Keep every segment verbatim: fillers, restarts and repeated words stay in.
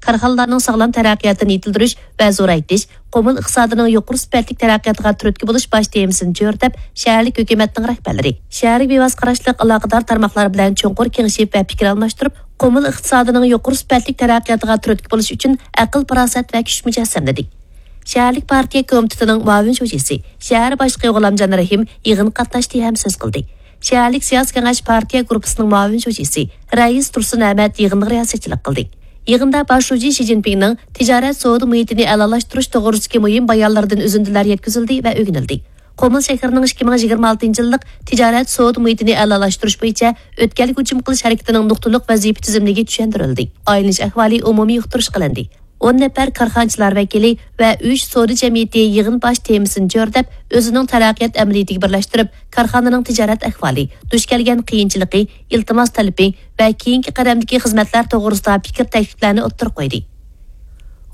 كارخانىلارنىڭ ساغلام تەرەققىياتىنى يېتىلدۈرۈش ۋە زورايتىش، قۇمۇل ئىقتىسادىنىڭ يۇقىرى سۈپەتلىك تەرەققىياتىغا تۈرتكە بولۇش باش تېمىسىنى چۆرىدەپ، شەھەرلىك ھۆكۈمەتنىڭ رەھبەرلىرى، شەھەرگە بىۋاسىتە قاراشلىق ئالاقىدار تارماقلار بىلەن چوڭقۇر كېڭىشىپ ۋە پىكىر ئالماشتۇرۇپ، قۇمۇل ئىقتىسادىنىڭ يۇقىرى سۈپەتلىك تەرەققىياتىغا تۈرتكە بولۇش ئۈچۈن ئەقىل-پاراسەت ۋە كۈچ مۇجەسسەملىدى. شەھەرلىك پارتىيە كومىتېتىنىڭ مۇئاۋىن شۇجىسى، شەھەر باشلىقى غۇلامجان رەھىم يىغىنغا قاتناشتى ھەم سۆز قىلدى. شەھەرلىك سىياسىي كېڭەش پارتىيە گۇرۇپپىسىنىڭ مۇئاۋىن شۇجىسى رەئىس تۇرسۇن ئەمەت يىغىنغا رىياسەتچىلىك قىلدى. يىغىندا باش شۇجى شى جىنپىڭنىڭ تىجارەت سودا مۇھىتىنى ئەلالاشتۇرۇش توغرىسىدىكى مۇھىم بايانلىرىدىن ئۈزۈندىلەر يەتكۈزۈلدى ۋە ئۆگىنىلدى. قۇمۇل شەھىرىنىڭ ئىككى مىڭ يىگىرمە ئالتىنچى يىللىق تىجارەت سودا مۇھىتىنى ئەلالاشتۇرۇش بويىچە ئۆتكەلگە ھۇجۇم قىلىش ھەرىكىتىنىڭ نۇقتىلىق ۋەزىپە تۈزۈملۈكى چۈشەندۈرۈلدى. ئايلىنىش ئەھۋالى ئومۇمىي ئۇقتۇرۇش قىلىندى. ئون نەپەر كارخانىچىلار ۋەكىلى ۋە ئۈچ سودا جەمئىيىتى يىغىن باش تېمىسىنى چۆرىدەپ، ئۆزىنىڭ تەرەققىيات ئەمەلىيىتىگە بىرلەشتۈرۈپ، كارخانىنىڭ تىجارەت ئەھۋالى، دۇچ كەلگەن قىيىنچىلىقى، ئىلتىماس تەلىپى ۋە كېيىنكى قەدەمدىكى خىزمەتلەر توغرىسىدا پىكىر تەكلىپلەرنى ئوتتۇرىغا قويدى.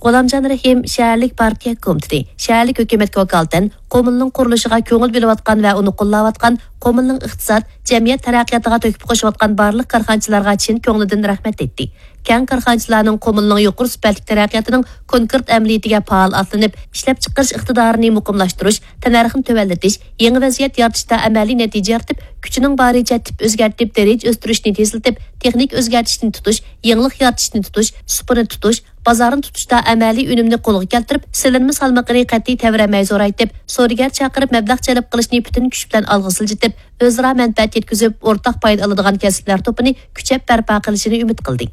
غۇلامجان رەھىم شەھەرلىك پارتىيە كومىتېتى، شەھەرلىك ھۆكۈمەتكە ۋاكالىتەن قۇمۇلنىڭ قۇرۇلۇشىغا كۆڭۈل بۆلۈۋاتقان ۋە ئۇنى قوللاۋاتقان، قۇمۇلنىڭ ئىقتىساد، جەمئىيەت تەرەققىياتىغا تۆھپە قوشۇۋاتقان بارلىق كارخانىچىلارغا چىن كۆڭلىدىن رەھمەت ئېيتتى. كەڭ كارخانىچىلارنىڭ قۇمۇلنىڭ يۇقىرى سۈپەتلىك تەرەققىياتىنىڭ كونكرېت ئەمەلىيىتىگە پائال ئاتلىنىپ، ئىشلەپچىقىرىش ئىقتىدارىنى مۇقىملاشتۇرۇش، تەننەرخنى تۆۋەنلىتىش، يېڭى ۋەزىيەت يارىتىشتا ئەمەلىي نەتىجە يارىتىپ، كۈچىنىڭ بارىچە تىپ ئۆزگەرتىپ، دەرىجە ئۆستۈرۈشنى تېزلىتىپ، تېخنىكا ئۆزگەرتىشنى تۇتۇش، يېڭىلىق يارىتىشنى تۇتۇش، سۇپىنى تۇتۇش، بازارنى تۇتۇشتا ئەمەلىي ئۈنۈمنى قولغا كەلتۈرۈپ، سېلىنما سالمىقىنى قەتئىي تەۋرەنمەي زورايتىپ، سودىگەر چاقىرىپ مەبلەغ جەلپ قىلىشنى پۈتۈن كۈچ بىلەن ئالغا سىلجىتىپ، ئۆزئارا مەنپەئەت يەتكۈزۈپ، ئورتاق پايدا ئالىدىغان كەسىپلەر توپىنى كۈچەپ بەرپا قىلىشىنى ئۈمىد قىلدى.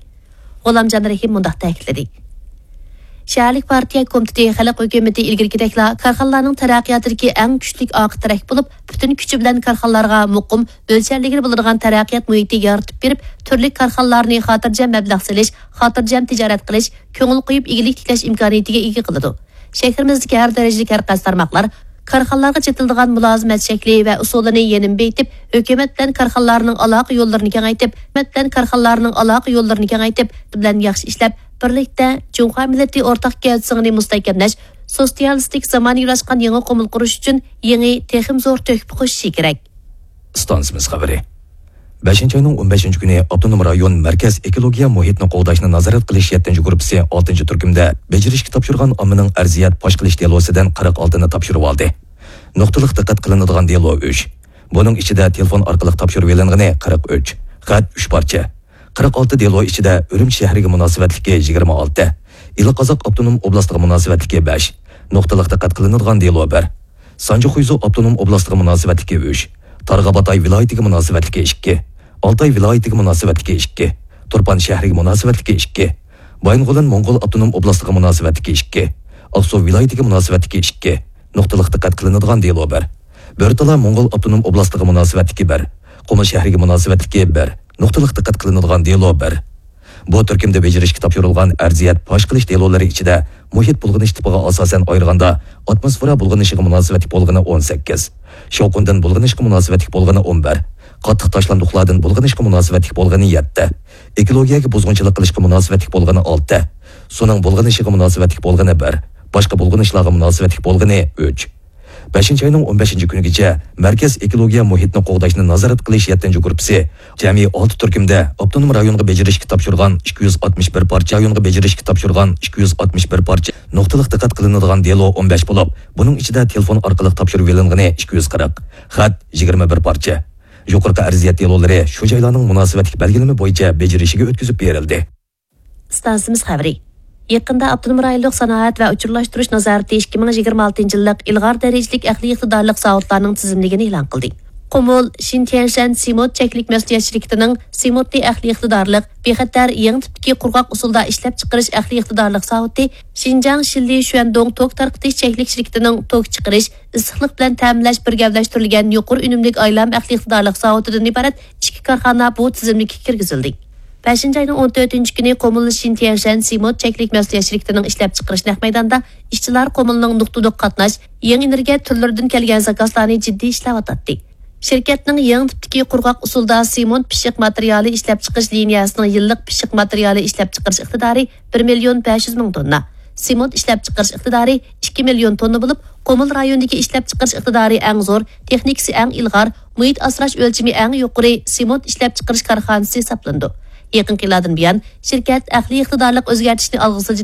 غۇلامجان رەھىم مۇنداق تەكىتلىدى. شەھەرلىك پارتىيە كومىتېتى خەلق ھۆكۈمىتى ئىلگىرىكىدەكلا كارخانىلارنىڭ تەرەققىياتىدىكى ئەڭ كۈچلۈك ئارقا تىرەك بولۇپ، پۈتۈن كۈچى بىلەن كارخانىلارغا مۇقىم، ئۆلچەرلىگىلى بولىدىغان تەرەققىيات مۇھىتى يارىتىپ بېرىپ، تۈرلۈك كارخانىلارنى خاتىرجەم مەبلەغ سېلىش، خاتىرجەم تىجارەت قىلىش، كۆڭۈل قويۇپ ئىگىلىك تىكلەش ئىمكانىيىتىگە ئىگە قىلىدۇ. شەھىرىمىزدىكى ھەر دەرىجىلىك ھەر قايسى تارماقلار كارخانىلارغا چېتىلىدىغان مۇلازىمەت شەكلى ۋە ئۇسۇلىنى يەنىمۇ بېيىتىپ، ھۆكۈمەت بىلەن كارخانىلارنىڭ ئالاقە يوللىرىنى كېڭەيتىپ، ھۆكۈمەت بىلەن كارخانىلارنىڭ ئالاقە يوللىرىنى كېڭەيتىپ، بىلەن ياخشى ئىشلەپ، بىرلىكتە جۇڭخۇا مىللىتى ئورتاق گەۋدىسىڭىنى مۇستەھكەملەش، سوتسىيالىستىك زامانىۋىلاشقان يېڭى قۇمۇل قۇرۇش ئۈچۈن يېڭى، تېخىمۇ زور تۆھپە قوشۇشى كېرەك. ئىستانسىمىز خەۋىرى. بەشىنچى ئاينىڭ ئون بەشىنچى كۈنى ئاپتونوم رايون مەركەز ئېكولوگىيە مۇھىتنى قوغداشنى نازارەت قىلىش يەتتىنچى گۇرۇپپىسى ئالتىنچى تۈركۈمدە بېجىرىشكە تاپشۇرغان ئاممىنىڭ ئەرزىيەت پاش قىلىش دېلوسىدىن قىرىق ئالتىنى تاپشۇرۇۋالدى. نۇقتىلىق دىققەت قىلىنىدىغان دېلو ئۈچ. بۇنىڭ ئىچىدە تېلېفون ئارقىلىق تاپشۇرۇۋېلىنغىنى قىرىق ئۈچ، خەت ئۈچ پارچە. قىرىق ئالتە دېلو ئىچىدە ئۈرۈمچى شەھىرىگە مۇناسىۋەتلىكى يىگىرمە ئالتە، ئىلى قازاق ئاپتونوم ئوبلاستىغا مۇناسىۋەتلىكى بەش، نۇقتىلىق دىققەت قىلىنىدىغان دېلو بىر، سانجى خۇيزۇ ئاپتونوم ئوبلاستىغا مۇناسىۋەتلىكى ئۈچ، تارغا باتاي ۋىلايىتىگە مۇناسىۋەتلىكى ئىككى، ئالتاي ۋىلايىتىگە مۇناسىۋەتلىكى ئىككى، تۇرپان شەھىرىگە مۇناسىۋەتلىكى ئىككى، بايىنغولىن موڭغۇل ئاپتونوم ئوبلاستىغا مۇناسىۋەتلىكى ئىككى، ئاقسۇ ۋىلايىتىگە مۇناسىۋەتلىكى ئىككى، نۇقتىلىق دىققەت قىلىنىدىغان دېلو بىر، بۆرتالا موڭغۇل ئاپتونوم ئوبلاستىغا مۇناسىۋەتلىكى بىر، قۇمۇل شەھىرىگە مۇناسىۋەتلىكى بىر، نۇقتىلىق دىققەت قىلىنىدىغان دېلو بىر. بۇ تۈركۈمدە بېجىرىشكە تاپشۇرۇلغان ئەرزىيەت پاش قىلىش دېلولىرى ئىچىدە مۇھىت بۇلغىنىش تىپىغا ئاساسەن ئايرىغاندا، ئاتموسفېرا بۇلغىنىشىغا مۇناسىۋەتلىك بولغىنى ئون سەككىز، شاۋقۇندىن بۇلغىنىشقا مۇناسىۋەتلىك بولغىنى ئون بىر، قاتتىق تاشلاندۇقلاردىن بۇلغىنىشقا مۇناسىۋەتلىك بولغىنى يەتتە، ئېكولوگىيەگە بۇزغۇنچىلىق قىلىشقا مۇناسىۋەتلىك بولغىنى ئالتە، سۇنىڭ بۇلغىنىشىغا مۇناسىۋەتلىك بولغىنى بىر، باشقا بۇلغىنىشلارغا مۇناسىۋەتلىك بولغىنى ئۈچ. بەشىنچى ئاينىڭ ئون بەشىنچى كۈنىگىچە مەركەز ئېكولوگىيە مۇھىتنى قوغداشنى نازارەت قىلىش يەتتىنچى گۇرۇپپىسى جەمئىي ئالتە تۈركۈمدە ئاپتونوم رايونغا بېجىرىشكە تاپشۇرغان ئىككى يۈز ئاتمىش بىر پارچە، رايونغا بېجىرىشكە تاپشۇرغان ئىككى يۈز ئاتمىش بىر پارچە، نۇقتىلىق دىققەت قىلىنىدىغان دېلو ئون بەش بولۇپ، بۇنىڭ ئىچىدە تېلېفون ئارقىلىق تاپشۇرۇۋېلىنغىنى ئىككى يۈز قىرىق، خەت يىگىرمە بىر پارچە. يۇقىرىقى ئەرزىيەت دېلولىرى شۇ جايلارنىڭ مۇناسىۋەتلىك بەلگىلىمە بويىچە بېجىرىشىگە ئۆتكۈزۈپ بېرىلدى. ئىستانسىمىز خەۋىرى. يېقىندا ئاپتونوم رايونلۇق سانائەت ۋە ئۇچۇرلاشتۇرۇش نازارىتى ئىككى مىڭ يىگىرمە ئالتىنچى يىللىق ئىلغار دەرىجىلىك ئەقلىي ئىقتىدارلىق زاۋۇتلارنىڭ تىزىملىكىنى ئېلان قىلدى. قۇمۇل، شىنتيەنشەن سېمونت چەكلىك مەسئۇلىيەت شىركىتىنىڭ سېمونتنى ئەقلىي ئىقتىدارلىق، بىخەتەر، يېڭى تىپتىكى قۇرغاق ئۇسۇلدا ئىشلەپچىقىرىش ئەقلىي ئىقتىدارلىق زاۋۇتى، شىنجاڭ شىللى شۈەندۇڭ توك تارقىتىش چەكلىك شىركىتىنىڭ توك چىقىرىش، ئىسسىقلىق بىلەن تەمىنلەش بىر گەۋدىلەشتۈرۈلگەن يۇقىرى ئۈنۈملۈك ئايلام ئەقلىي ئىقتىدارلىق زاۋۇتىدىن ئىبارەت ئىككى كارخانا بۇ تىزىملىككە كىرگۈزۈلدى. بەشىنچى ئاينىڭ ئون تۆتىنچى كۈنى قۇمۇل شىنتيەنشەن سېمونت چەكلىك مەسئۇلىيەت شىركىتىنىڭ ئىشلەپچىقىرىش نەق مەيدانىدا ئىشچىلار قۇمۇلنىڭ نۇقتىلىق قاتناش، يېڭى ئېنېرگىيە تۈرلىرىدىن كەلگەن زاكازلارنى جىددىي ئىشلەۋاتاتتى. شىركەتنىڭ يېڭى تىپتىكى قۇرغاق ئۇسۇلدا سېمونت پىششىق ماتېرىيالى ئىشلەپچىقىرىش لىنىيەسىنىڭ يىللىق پىششىق ماتېرىيالى ئىشلەپچىقىرىش ئىقتىدارى بىر مىليون بەش يۈز مىڭ توننا، سېمونت ئىشلەپچىقىرىش ئىقتىدارى ئىككى مىليون توننا بولۇپ، قۇمۇل رايونىدىكى ئىشلەپچىقىرىش ئىقتىدارى ئەڭ زور، تېخنىكىسى ئەڭ ئىلغار، مۇھىت ئاسراش ئۆلچىمى ئەڭ يۇقىرى سېمونت ئىشلەپچىقىرىش كارخانىسى ھېسابلىنىدۇ. يېقىنقى يىللاردىن بۇيان، شىركەت ئەقلىي ئىقتىدارلىق ئۆزگەرتىشنى ئالغا